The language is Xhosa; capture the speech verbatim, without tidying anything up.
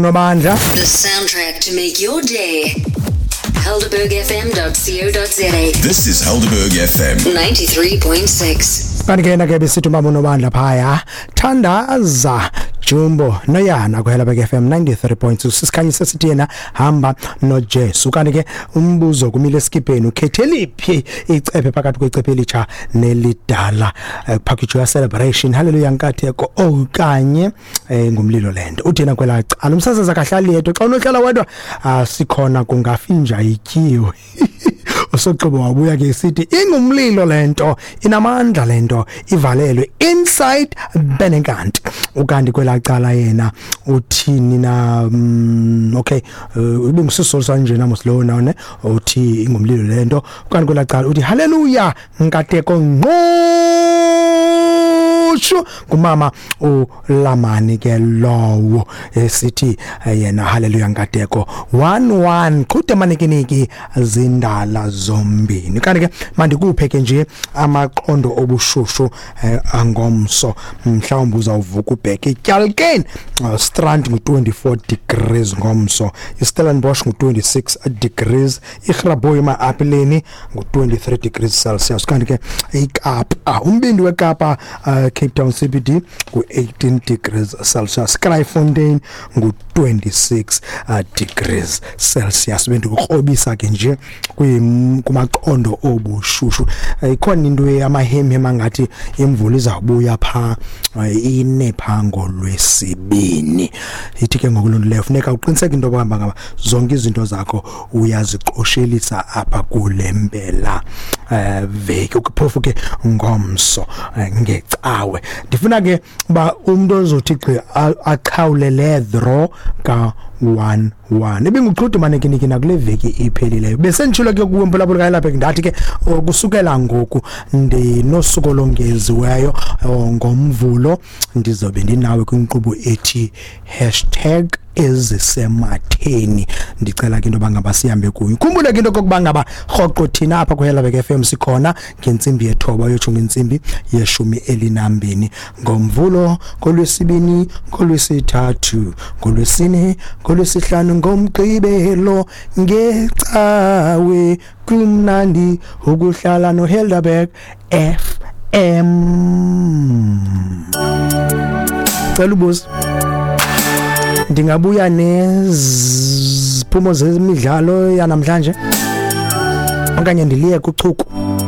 Nobandla. The soundtrack to make your day. Helderberg F M dot co dot za. This is Helderberg F M ninety-three point six. Kanti ke ke besithi umama uNobandla phaya thandaza Jumbo noyana ku Helderberg F M ninety-three point two. Sisikhanyise sithi yena hamba noJesu. Kanti ke umbuzo kumile esikipeni, ukhethe liphi icephe phakathi kwecephe elitsha nelidala? Package ya celebration, hallelujah nkatheko okanye ngumlilo lento. Uthi yena kwela cala umsasaza kahlali yedwa, xa unohlala wedwa asikhona kungafinja ityiwe. Usoxobo wabuya ke sithi ingumlilo lento, inamandla lento, ivalelwe inside Benekant. Ukanti kwelacala yena uthini na? mm, okay ubengusisolo sanje namos lo na ne uthi ingumlilo lento. Ukanti kwelacala uthi hallelujah nkateko ngqosho kumama uLamani ke lowo esithi yena hallelujah nkateko one one qhude manikiniki zindala zombini. Kanti ke mandikuphe ke nje amaqondo obushushu angomso, mhlawumbe uzawuvuka ubheke iTyalkeni Strand ngu twenty-four degrees ngomso, iStellenbosch ngu twenty-six degrees, iGrabooi ma-apileni ngu twenty-three degrees Celsius. Kanti ke iKapa, umbindi weKapa uh, Cape Town C B D ngu eighteen degrees Celsius, Kraaifontein ngu twenty-six uh, degrees Celsius. Bendikukrobisa ke nje kumaqondo obushushu. Ikhona into yamahemhem angathi imvula izawubuya pha ine pha ngolwesibini. Ithi ke ngokulungileyo funeka uqiniseke into yokuba ngaba zonke izinto zakho uyaziqoshelisa apha kule mpela eh veki, phofu ke ngomso ngecawe. Ndifuna ke uba umuntu ozothi gqi aqhawule le draw ka one one. Ibinguqhude manekiniki nakule veki iphelileyo. Bese nditshilo ke kuwe mphulaphuli kaYelapha ndathi ke kusukela ngoku ndinosuku olongeziweyo ngoMvulo ndizobe ndinawe kwinkqubo ethi hashtag ezisematheni. Ndicela ke into yoba ngaba sihambe kuyo. Khumbule ke into yokokuba ngaba rhoqo thina apha kuHelderberg F M sikhona ngentsimbi yethoba uyotsho ngentsimbi yeshumi elinambini ngoMvulo, ngolwesibini, ngolwesithathu, ngolwesine, ngolwesihlanu, ngoMgqibelo, ngecawe. Kumnandi ukuhlala noHelderberg F M. Cela ubuze, ndingabuya neziphumo zemidlalo yanamhlanje okanye ndiliye kuchuku?